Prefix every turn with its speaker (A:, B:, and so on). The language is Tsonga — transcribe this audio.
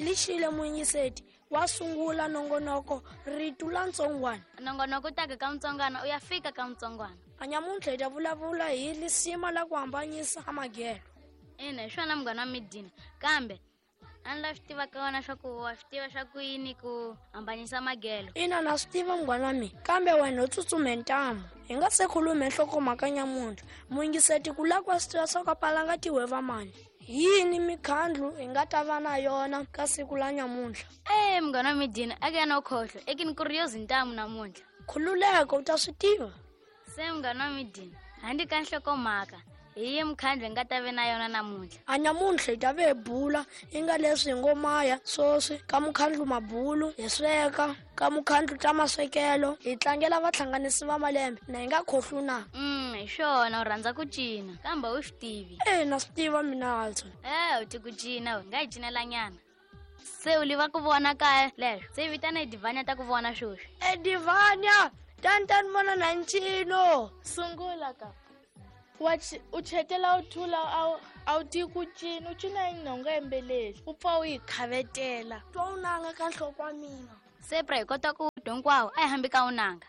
A: Lixile muyingiseti wa sungula nongonoko ritu la ntsongwana.
B: Nongonoko u taka ka mutsongwana u ya fika ka mutsongwana.
A: A nyamuntlha hi ta vulavula hi lisima la ku hambanyisa a magelo.
B: Ina, hi swona munghana wa midina, kambe a ni la swi tiva ka wena swa ku wa swi tiva swa ku yini ku hambanyisa magelo.
A: Ina, na swi tiva munghana wa mina, kambe wena u tsutsume ntamu. Hi nga se khulume nhlokomhaka nyamuntlha, muyingiseti ku lava ku wa swi tiva swa ku a palanga tihweva mani. Hi yini mikhandlu hi nga ta va na yona ka siku la nyamuntlha?
B: E munghana wa midina, a ke ya na ukhohlwa, ekini ku ri yo zintamu namuntlha.
A: Khululeka, u ta swi tiva.
B: Se munghana wa midina, handle ka nhlokomhaka, hi yi mukhandlu hi nga ta ve na yona namuntlha.
A: A nyamuntlha hi ta ve hi bula i nga leswi hi ngo maya swoswi ka mukhandlu mabulu, hi sweka ka mukhandlu ta maswekelo, hi tlangela vahlanganisi va malembe, na hi nga khohlwi na.
B: Hi swona, u rhandza ku cina, kambe u swi tivi.
A: E, na swi tiva mina Alton.
B: E, u ti ku cina, u nga hi cinelanyana. Se u liva ku vona kaya leswo, se vitana Edivanya ta ku vona sweswi.
A: Edivanya, tani tani vona na ncino.
C: Sungula ka. Wa u chetela u thula, a wu tivi ku cina, u cina hi nhonga yembeleli, u pfa u yi khavetela.
A: Twa u nanga ka nhloko wa mina.
B: Se pra hi kota ku dya hinkwawo, a hi hambi ka u nanga.